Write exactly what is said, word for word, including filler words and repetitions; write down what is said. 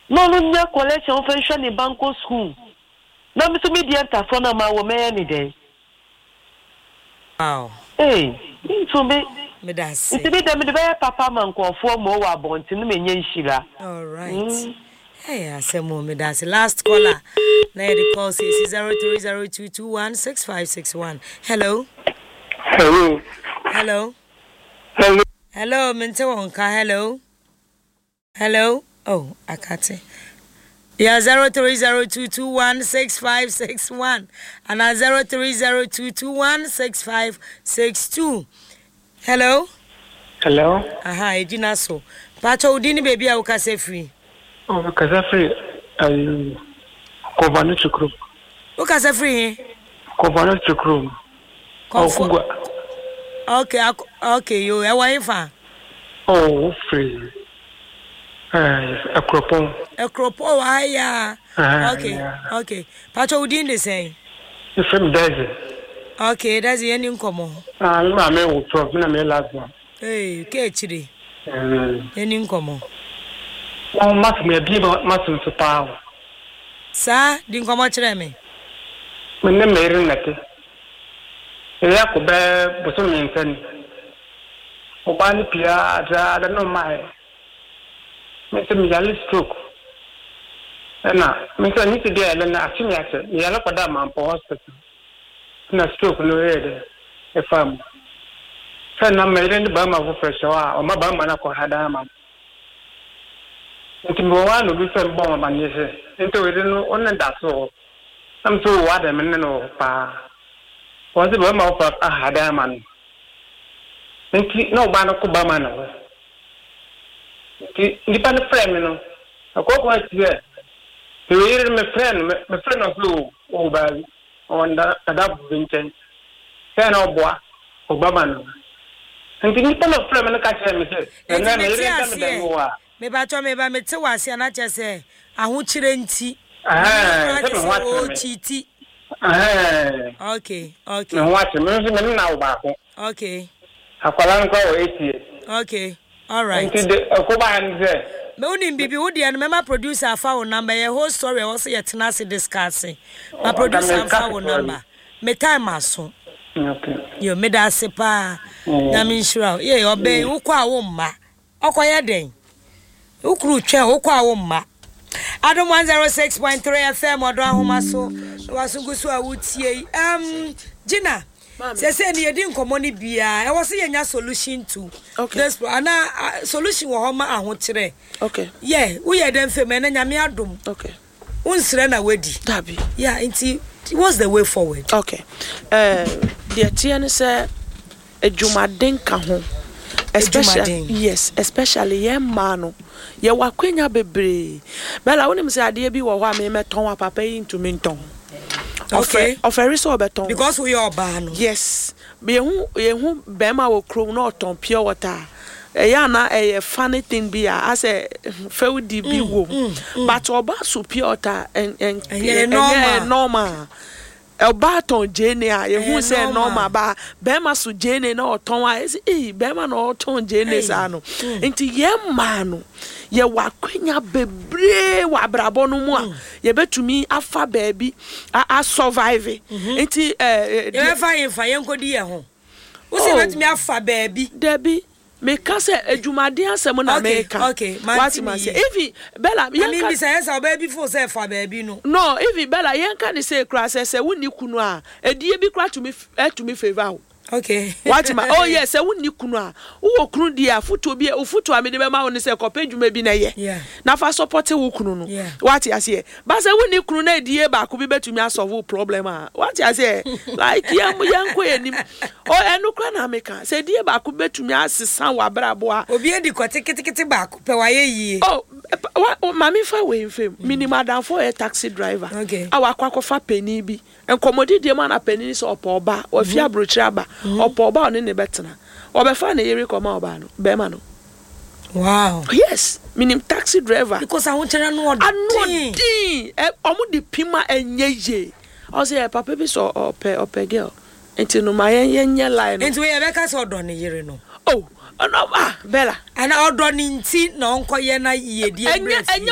Na ɔno nya collection ɔmfa nhwɛ ne ba nkɔ school. Na me nso me deɛ ntafoɔ no a mawɔ mɛyɛ ne dɛn? Wow. Ei, mentumi. Meda ase. Nti me deɛ mede bɛyɛ papa ama nkurɔfoɔ ma wɔ abɔnten na manya nhyira. All right. Mm. Hey, asɛm o, meda ase. Last caller na yɛde call sɛsi zero three zero two two one six five six one. Hello. Hello. Hello. Hello. Hello, mente wo nka. Hello, hello. Oh, akate. Yeah, zero three zero two two one six five six one and zero three zero two two one six five six two. Hello. Hello. Aha, egyina so. Pacho, wo din ne baabi a wokasa firi? Oh, kasa firi ayi Kɔfano Kurom. Wokasa firi he? Kɔfano Kurom. Kɔfo. Ɔkugua. Okay, ak- okay, yo, ɛwɔ he fa? Oh, firi ɛɛ Akuropɔn. Akuropɔn wɔ ha yi a. Ah, Okay, yeah. okay. Pacho, wo din de sɛn? Efiri mi Dɛzi. Okay, that's yɛn nkɔmmɔ. Ah, mi maame wò twelve, mi na mi yɛ last one. Hey, ke akyire. Mm. Yɛn nkɔmmɔ. Wɔn masom ebie ma masom so paa o. Saa, di nkɔmmɔ kyerɛ me. Mi ne mi yere nnɛte. Ɛyɛ akɔ bɛɛ bosom mmiɛnsa ni. Ɔbaa no pia adra na ɔmaa yɛ. Mi nso mi yare stroke. Ɛna mi nso ne ti deɛ ɛlɛ na akye mi akyɛ. Mi yare kɔda Mampɔ Hospital. Na stroke no yɛ dɛ ɛfa mu. Sɛ na mi yere ne barima foforɔ hyɛ hɔ a, ɔma barima no akɔ ha dan ama no. Nti mewɔ hɔ a na obi fɛ mbɔ wɔn amaneɛ sɛ nti oyere no ɔne da so wɔ hɔ. Na mi nso wɔ adɛ mi ne no wɔ hɔ paa. Wɔn sɛ barima foforɔ aha dan ama no. Nti na ɔbaa no kɔ barima no hɔ. Nti nipa no frɛ mi no, akɔkɔ akyi sɛ oyere no mefrɛ no mefrɛ no sɛ o ɔwɔ baabi, ɔwɔ dada bi nkyɛn sɛ na ɔboa ɔbama no. Nti nipa no frɛ mi no ka kyerɛ mi sɛ Nti ɛnɛ mete meyere nka me dan aseɛ. mu hɔ a Mebatɔ, meba, mete wɔ aseɛ na kyerɛ sɛ ahokyerɛ nti. Ɛhɛn, sɛ me ho akyerɛ me. Ɔkyiti. Ɛhɛn, Okay, me okay, ho akyerɛ me nso, me ne na wo baako. Okay, Akwadaa no koraa wɔ eight years. Okay. All right. Nti de ɛkɔ baa ne sɛ Me wonim bibi, wo deɛ no mɛma producer afa wo number. Yɛ whole story ɛwɔ sɛ yɛtena ase discuss. Ma Oh, producer anka afa menka wo ketewa bi. number. Me time aso. Okay. Yo, meda ase paa. Mm. Nyame nhyira wo. Ye, ɔbɛn wokɔ a wo mma. Ɔkɔyɛ dɛn? Wokuru twɛn wokɔ a wo mma. Adom one oh six point three F M, Ɔdɔ Ahoma so. Na waso gu so a wotie yi. Um, Gina, sɛsɛ ni yɛdi nkɔmmɔ no biara, ɛwɔ sɛ yɛnya solution to Okay. this pro ana uh, solution wɔ hɔ ma ahokyerɛ. Okay. Yɛ woyɛ dɛn fam ɛnɛ, Nyame adom, Okay. wonsrɛ na wadi. Dabi. Yeah, nti what's the way forward? Okay. Uh, deɛ teɛ ne sɛ adwumaden ka ho. Especially Adwumaden. Yes, especially yɛn mmaa no, yɛwɔ akwanya bebree. Bɛla, wonim sɛ adeɛ bi wɔ hɔ a memɛtɔn a papa yi ntumi ntɔn. Okay. Ɔfɛ ɔfɛre sɛ ɔbɛtɔn. Because woyɛ ɔbaa no. Yes, yɛhu yɛhu bɛrima wɔ kurom na ɔtɔn pure water a, ɛyɛ ana ɛyɛ funny thing bi a asɛ fɛwdi bi wɔ mu, but ɔbaa so pure water ɛn ɛn Ɛnyɛ normal. Normal. Ɔbaa tɔn gyeene a yɛhu Ɛyɛ sɛ normal. normal, ba bɛrima so gyeene na ɔtɔn a, ɛsɛ ee bɛrima na ɔtɔn gyeene Ei. saa no. Nti yɛn mmaa no, yɛwɔ akwanya bebree wɔ abrabɔ no mu a yɛbɛtumi afa baabi a a survive. Nti ɛɛ deɛ- Yɛbɛfa yɛmfa yɛnkɔdi yɛn ho, wo sɛ Oh. yɛbɛtumi afa baabi. Dabi, meka sɛ adwumaden asɛm na Okay, meka. okay, mante Wate me ma sɛ yie. even Bella na yɛnka membisa yɛ sɛ ɔbaa bi fo sɛ fa baabi no. No, even Bella, yɛnka ne sɛ kura sɛ sɛ wonni kunu a, edie bi kura tumi ɛtumi favour wo. Okay wate ma? Oh yes, sɛ wonni kunu a, wowɔ kunu deɛ a, fotuo bi fotuo a mede bɛma wo ne sɛ kɔpɛ dwuma bi na ɛyɛ Yeah. na fa support wo kunu no. Yeah. Wate aseɛ? Ba sɛ wonni kunu na edie baako bi bɛtumi asolve wo problem a, wate aseɛ? Like yɛn yɛn kɔ yɛn nim ɔ ɛno kora na meka sɛ edie baako bɛtumi asesa wɔ abrabɔ a. Obi adi kɔte ketekete baako pɛ, wayɛ yie. Oh, wa wa- maame, fa wei nfam, minim adamfo a ɔyɛ taxi driver Okay. a wakɔ akɔfa panin bi nkɔmmɔdidie mu ana panin sɛ ɔpɛ ɔba, wafi aburokyire aba, ɔpɛ ɔba a ɔne ne bɛtena, ɔbɛfa ne yere kɔma ɔbaa no bɛrima no. Wow. Yes, minim taxi driver. Because ahokyerɛ no ano ɔden. Ɔden ɛ ɔmo de pima ɛnyɛ yie. Ɔsɛ ɛ papa bi sɛ ɔpɛ ɔpɛ girl, nti no ma yɛn yɛn nyɛ line no. Nti wei yɛbɛka sɛ ɔdɔ ne yere no? Oh, ɔno ah, Bella. Ana ɔdɔ ne nti na ɔnkɔyɛ na yiedie ɛnyɛ mmerɛ fie? Ɛnyɛ.